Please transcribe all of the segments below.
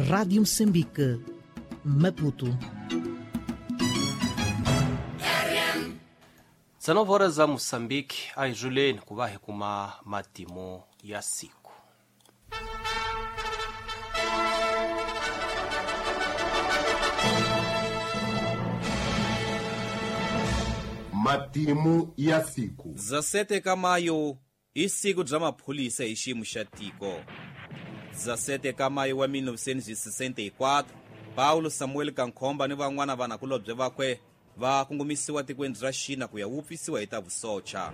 Rádio Moçambique, Maputo. 19 horas za Moçambique aizuleni kuva hi kuma matimu ya siku. Matimu ya siku. 17 ka maio i siku bya maphorisa hi xiyimo xa tiko. 17 ka maio wa 1964, Paulo Samuel Kankhomba ni van'wana vanakulobye vakwe va kongomisiwa tikweni ra Xina ku ya wupfisiwa hi ta vusocha.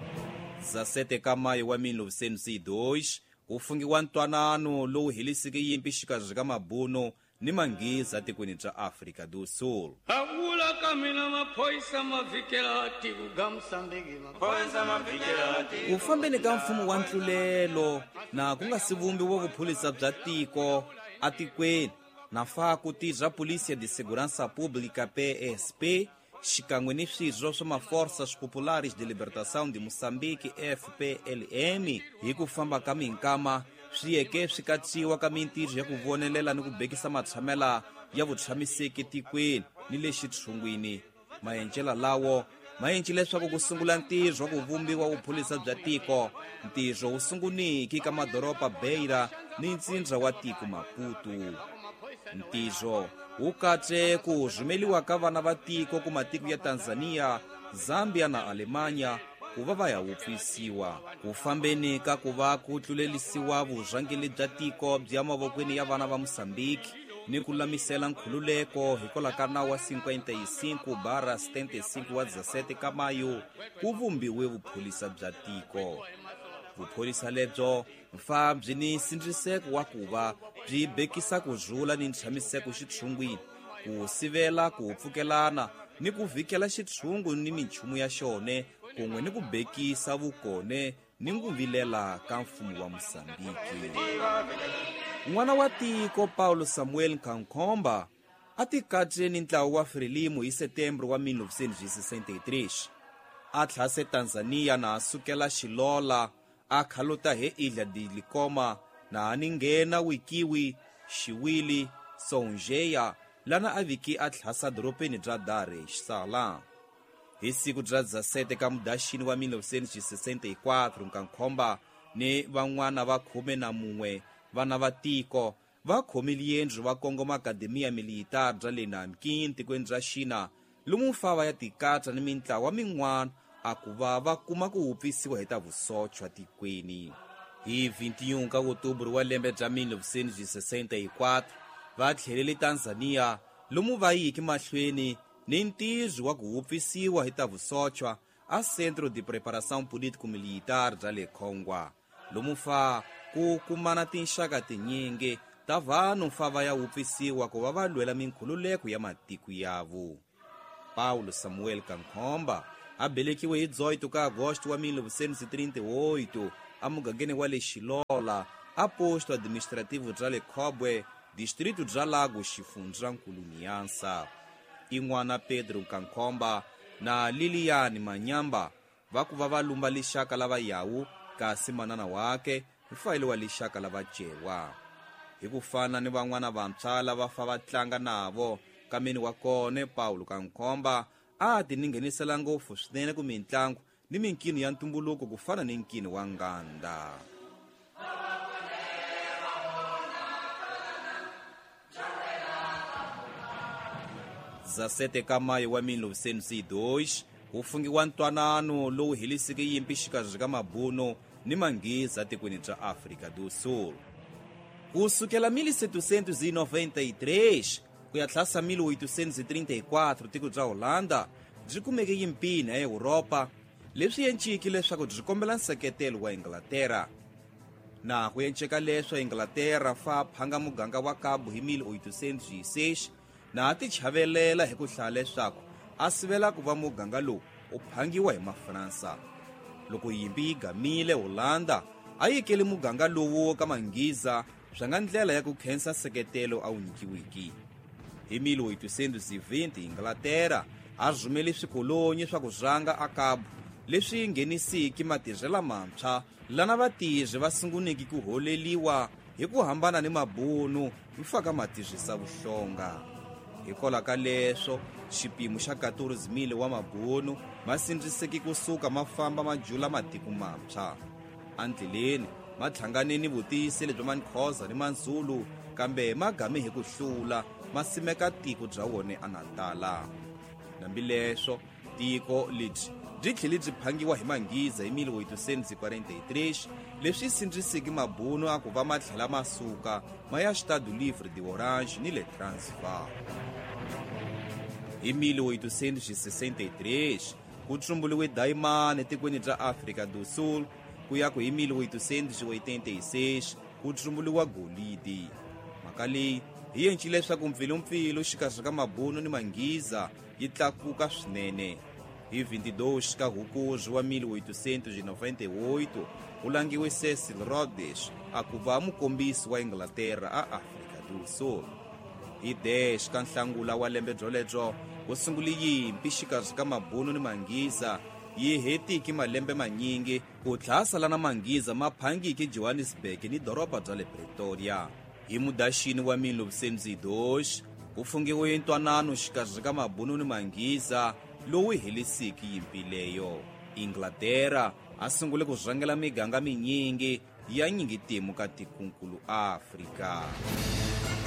17 ka maio wa 1902, ku fungiwa ntwanano lowu heliseke yimpi xikarhi ka mabunu ni manghiza tikweni ra Afrika do Sul. Avula ka mina maphorisa ma fikela tiko ga Mosambiki, maphorisa ma fikela tiko. Ku fambeni ka mfumo wa ntlulelo na ku nga si vumbiwa vuphorisa bya tiko atikweni na fa ku tirha Polícia de Segurança Pública PSP xikan'we ni swirho swa ma-Forças Populares de Libertação de Moçambique FPLM hi ku famba ka minkama swi yeke swi katsiwa ka mintirho ya ku vonelela ni ku bekisa matshamela ya vutshamiseki tikweni ni le xitshungwini. Maendlelo lawo ma endle leswaku ku sungula ntirho wa ku vumbiwa vuphorisa bya tiko. Ntirho wu sunguniki ka madoroba Beira ni ntsindza wa tiko Maputo. Ntirho wu katse ku rhumeliwa ka vana va tiko ku matiko ya Tanzania, Zambia na Alemanya ku va va ya wupfisiwa. Ku fambeni ka ku va ku tlulelisiwa vurhangeri bya tiko bya mavokweni ya vana va Mosambiki ni ku lamisela nkhululeko hikwalaho ka nawu wa 55/75 wa 17 ka mayo ku vumbiwe vuphorisa bya tiko. Vuphorisa lebyo mfa byi ni nsindziseko wa ku va byi bekisa ku rhula ni ntshamiseko xitshungwini, ku sivela ku pfukelana ni ku vhikela xitshungu ni minchumu ya xone, kun'we ni ku bekisa vukone ni ku vilela ka mfumo wa Mosambiki. N'wana wa tiko Paulo Samuel Kankhomba a tikatse ni ntlawa wa Frelimo hi Setembro wa 1963. A tlhase Tanzania na a sukela Xilola, a khaluta he Ilha de Likoma na a ninghena Wikiwi, Xiwili, Songeia lana a viki a tlhasa doropeni bya Dar es Salaam. Hi siku bya 17 ka Mudaxini wa 1964, Nkankhomba ni van'wana va 11 vana va tiko va khomile yendlu va kongoma Akademiya Militar bya le Nanking tikweni ra Xina, lomu mfava ya tikatsa ni mintlawa min'wana a ku va va kuma ku wupfisiwa hi ta vusochwa tikweni. Hi 21 ka Oktobre wa lembe bya 1964 va tlhelele Tanzania, lomu va yiki mahlweni ni ntirho wa ku wupfisiwa hi ta vusochwa a Centro de Preparação Político-Militar bya le Khongwa, lomu fa ku kumana tinxaka tinyingi ta vanhu mfa va ya wupfisiwa ku va va lwela minkhululeko ya matiko yavo. Paulo Samuel Kankhomba a belekiwe hi 18 ka Agosto wa 1938 emugangeni wa le Xilola, a posto administrativo bya le Khobwe, distrito bya Lago, xifundzankulu Niansa. I n'wana Pedro Kankhomba na Lilian Manyamba va ku va va lumba lixaka lava Yawu, kasi manana wake mfayelo wa lixaka lava Cewa. Hi ku fana ni van'wana vantshwa lava fa va tlanga navo, kameni wa kone Paulo Kankhomba a ti ninghenisela ngopfu swinene ku mintlangu ni minkino ya ntumbuluko ku fana ni nkino wa nganda. 17 ka maio wa 1902 ku fungiwa ntwanano lowu heliseke yimpi xikarhi ka mabunu ni manghiza tikweni bya Afrika do Sul. Ku sukela 1793 ku ya tlhasa 1834 tiko bya Holanda byi kumeke yimpini ya Europa, leswi enciki leswaku byi kombela nseketelo wa Inglaterra. Na ku enceka leswo Inglaterra fa phanga muganga wa Cabo hi 1806 na a ti chavelela hi ku hlaya leswaku a sivela ku va muganga lowu u phangiwa hi Mafransa. Loko yimpi yi gamile, Holanda a yikele muganga lowu ka manghiza swa nga ndlela ya ku khensa nseketelo a wu nyikiwiki. Hi 1820 Inglaterra a rhumele swikolonyi swa ku rhanga a Cabo leswi nghenisiki matirhelo mantshwa lana vatirhi va sunguniki ku holeliwa Hi ku hambana ni mabunu, mfaka ma tirhisa vuhlonga. Hikwalaho ka leswo, xipimo xa 14,000 wa mabunu ma sindziseke kusuka ma famba ma jula matiko mantshwa. Endleleni ma tlhangane ni vutiyiseli bya Maxhosa ni Mazulu, kambe ma game hi ku hlula ma simeka tiko bya wona eNatala. Hambileswo, tiko lebyi byi tlhele byi phangiwa hi Manghiza hi 1843, leswi sindziseke mabunu a ku va ma tlhela ma suka ma ya Estado Livre de Orange ni le Transvaal. Hi 1863 ku tsumburiwe dayimani etikweni ra Afrika do Sul, ku ya ku hi 1886 ku tsumburiwa golidi. Mhaka leyi yi endlile leswaku mpfilumpfilu xikarhi ka mabunu ni Manghiza yi tlakuka swinene. Hi 22 ka Hukuri wa 1898 ku langiwe Cecil Rhodes a ku va mukombisi wa Inglaterra a Afrika do Sul. Hi 10 ka Nhlangula wa lembe byolebyo ku sungule yimpi xikarhi ka mabunu ni Manghiza, yi hetiki malembe manyingi ku tlhasela na Manghiza ma phangiki Johannesburg ni doroba bya le Pretoria. Hi Mudaxini wa 1902 ku fungiwe ntwanano xikarhi ka mabunu ni Manghiza lowu helisiki yimpi leyo. Inglaterra a sungule ku rhangela miganga minyingi ya nyingitimu ka tikunkulu Afrika.